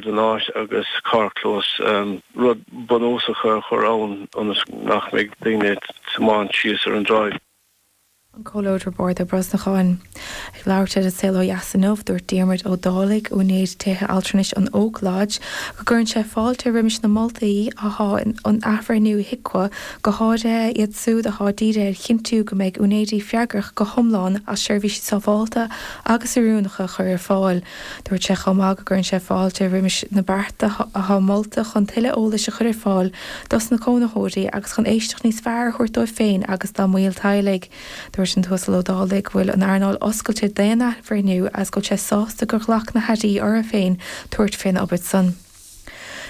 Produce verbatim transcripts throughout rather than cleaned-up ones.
den áit agus carrchlós, rud bunúsach a chur ann ionas nach mbeidh daoine ag tiomáint síos ar an dtráigh. An Comhairleoir Roibeárd Ó Brosnacháin. Ag labhairt ar An Saol Ó Dheas inniu, dúirt Diarmuid Ó Dálaigh, úinéir tithe altranais an Oak Lodge, go gcuireann sé fáilte roimis na moltaí athá in athbhreithniú HIQA, go háirithe iad súd athá dírithe ar chinntiú go mbeidh úinéirí freagrach go hiomlán as seirbhísí sábháilte agus oiriúnacha a chur ar fáil. Dúirt sé chomh maith go gcuireann sé fáilte roimis na bearta athá molta chun tuilleadh eolais a chur ar fáil dos na cónaitheoirí agus chun éisteacht níos fearr a thabhairt dóibh féin agus dá mbaill teaghlaigh. Dúirt an tUasal Ó Dálaigh go bhfuil an earnáil oscailte d'aon athbhreithniú agus go bhfuil sé sásta gur ghlac na hairí orthu féin tabhairt fén obair san.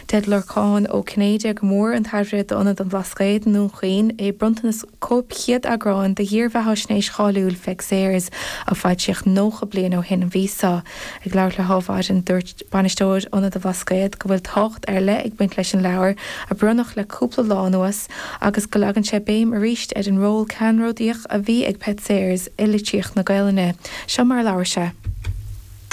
Deir Lorcán Ó Cinnéide go bhfuair an tAire d'Ionad an Bhlascaoid i nDún Chaoin é bronntanas cóip chéad eagráin de dhírbheathaisnéis cháiliúil Pheig Sayers a foilsíodh nócha bliain ó shin an mhí seo. Ag labhairt le hAdhmhaidin dúirt bainisteoir Ionad an Bhlascaoid go bhfuil tábhacht ar leith ag baint leis an leabhar a bronnadh le cúpla lá anuas agus go leagann sé béim arís ar an ról ceannródaíoch a bhí ag Peig Sayers i litríocht na Gaelainne. Seo mar a labhair sé.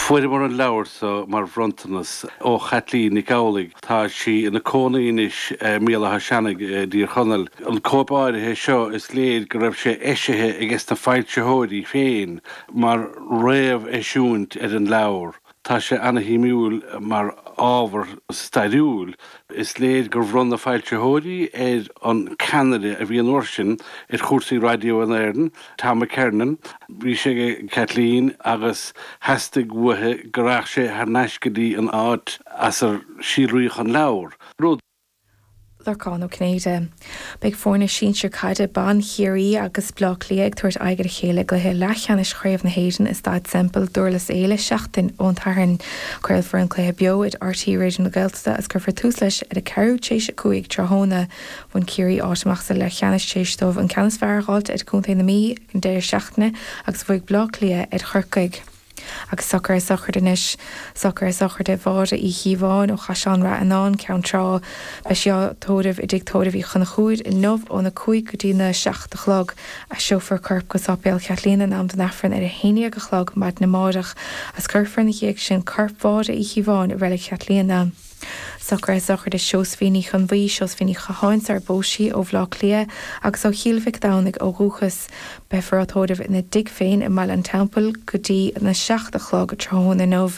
Fuaireamar an leabhar so mar bhronntanas ó Chaitlín Nic Amhlaigh. Tá sí ina cónaí anois i mBéal Átha Seanaidh i dTír Chonaill. An cóip áirithe seo is léir go raibh sé eisithe ages na foilsitheoirí féin mar réamheisiúint ar an leabhar. Tá sé ana-shuimiúil mar ábhar stairiúil. Is léir gur bhronn na foilsitheoirí ar an ceannaire a bhí an uair sin ar chúrsaí raidió in Éirinn, Tom McKernan. Bhí sé ag Kathleen agus theastaigh uaithi go rachadh sé thar n-ais go dtí an áit as ar síolraíodh an leabhar, rud. Lorcán Ó Cinnéide. Beidh foirne sinsir caide ban Chiarraí agus Bleá Cliath ag tabhairt aghaidh ar a chéile i gcluiche leathcheannais Chraobh na hÉireann i Staid Semple, Durlas Éile, seachtain ón tSatharn. Craolfar an cluiche beo ar RTÉ Raidió na Gaeltachta agus cuirfear tús leis ar a ceathrú tar éis a cúig tráthnóna. Bhain Ciarraí áit amach sa leathcheannais tar éis dóibh an ceann is fearr a fháilt ar Chontae na Mí ag an deireadh seachtaine agus bhuaigh Bleá Cliath ar Chorcaigh. Agus socruithe sochraide anois. Socruithe sochraide Mháire Uí Chíobháin ó Chaisleán Rath Fhionáin, Ceann Trá. Beidh sí á tórramh i dTigh Tórraimh Uí Chonchúir inniu óna cúig go dtí na seacht a chlog. Aistreofar a corp go Sáipéal Chaitlíona in am don Aifreann ar a haon déag a chlog maidin amárach agus cuirfear ina dhiaidh sin corp Mháire Uí Chíobháin i Reilig Chaitlíona. Socruithe sochraide Seosaimhín Ní Chonbhuí, Seosaimhín Ní Chatháin sar phós sí, ó Bhaile Átha Cliath agus ó Chill Mhic Domhnaigh ó dhúchas. Beifear á tórramh ina dtigh féin i mBaile an Teampaill go dtí na seacht a chlog tráthnóna inniu.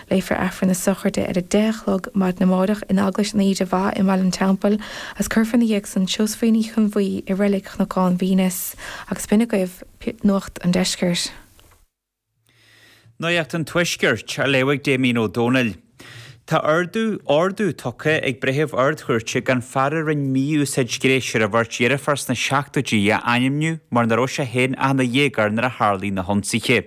Léifear Aifreann na sochraide ar a deich a chlog maidin amárach in Eaglais an Íde Mhaith i mBaile an Teampaill agus cuirfear ina dhiaidh san Seosaimhín Ní Chonbhuí i Reilig Chnocán Mhínus. Agus b'in agaibh Nuacht an Deiscirt. Nuacht an Tuaiscirt á léamh ag Damien Ó Dónaill. Tá ordú ordú tugtha ag breitheamh Ard-Chúirte gan fear a rinne mí-úsáid ghnéis ar a bheirt dheirfiúr sna seachtóidí a ainmniú mar nach raibh sé féin ach ina dhéagóir nuair a tharlaigh na hionsaithe.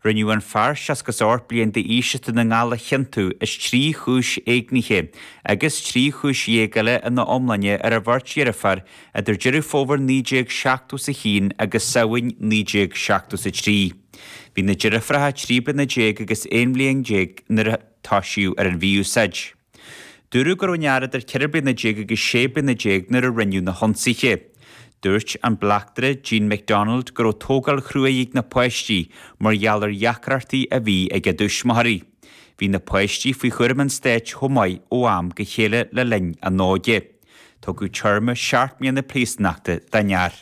Rinneadh an fear seasca is ocht bliain d'aois as Dún na nGall a chiontú as trí chúis éignithe agus trí chúis dhéag eile ina iomláine ar a bheirt dheirfiúr idir Deireadh Fómhair naoi déag seachtó is a haon agus Samhain naoi déag seachtó is a trí. Bhí na deirfiúracha trí bliana déag agus aon bhliain déag nuair a toisíodh ar an mhí-úsáid. Dúradh go raibh an fear idir ceithre bliana déag agus sé bliana déag nuair a rinneadh na hionsaithe. Dúirt an bleachtaire Jean McDonald go raibh tógáil chruaidh ag na páistí mar gheall ar dheacrachtaí a bhí ag a dtuismitheoirí. Bhí na páistí faoi chúram an stáit chomh maith ó am go chéile le linn a n-óige. Tugadh téarma seacht mbliana príosúnachta don fhear.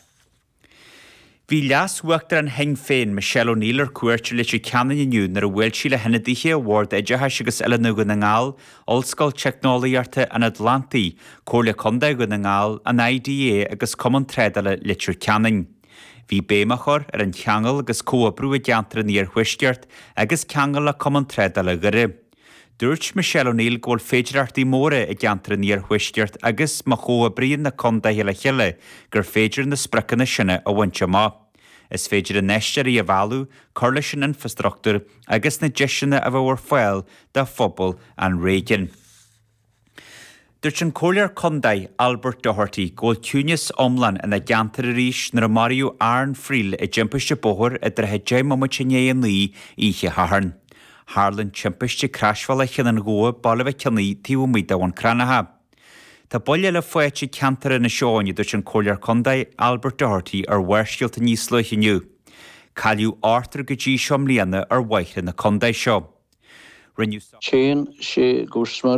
Bhí Leas-Uachtarán Shinn Féin, Michelle O'Neill ar cuairt ar Leitir Ceanainn inniu nuair a bhuail sí le hionadaithe Bhord Oideachais agus Oiliúna Dhún na nGall, Ollscoil Teicneolaíochta an Atlantaigh, Comhairle Contae Dhún na nGall, an IDA agus Cumann Trádála Leitir Ceanainn. Bhí béim á chur ar an cheangal agus comhoibriú i gceantar an Iarthuaiscirt agus ceangal le Cumann Trádála Dhoire. Dúirt Michelle O'Neill go bhfuil féidearthachtaí móra i gceantar an Iarthuaiscirt agus má chomhoibríonn na contaetha le chéile gur féidir na spriocanna sin a bhaint amach. Is féidir infheisteoirí a mhealladh, cur leis an infreastruchtúr agus na deiseanna a bheadh ar fáil do phobal an réigiúin. Dúirt an Comhairleoir Contae Albert Doherty go bhfuil ciúnas iomlán ina gceantar arís nuair a maraíodh Aaron Friel i dtimpiste bóthair i dtrátha deich mbomaite i ndiaidh a naoi oíche Shathairn. Tharla an timpiste ag Croisbhealach Chionn an Ghabha, Baile Mhic Cionnaith, taobh amuigh de Bhun Cranncha. Tá buille eile faighte ag ceantar Inis Eoghain, a dúirt an Comhairleoir Contae Albert Doherty ar Bharrscéalta níos luaithe inniu. Cailleadh ochtar go dtí seo i mbliana ar bhóithre na contae seo. Rinneadh Téann sé go smior.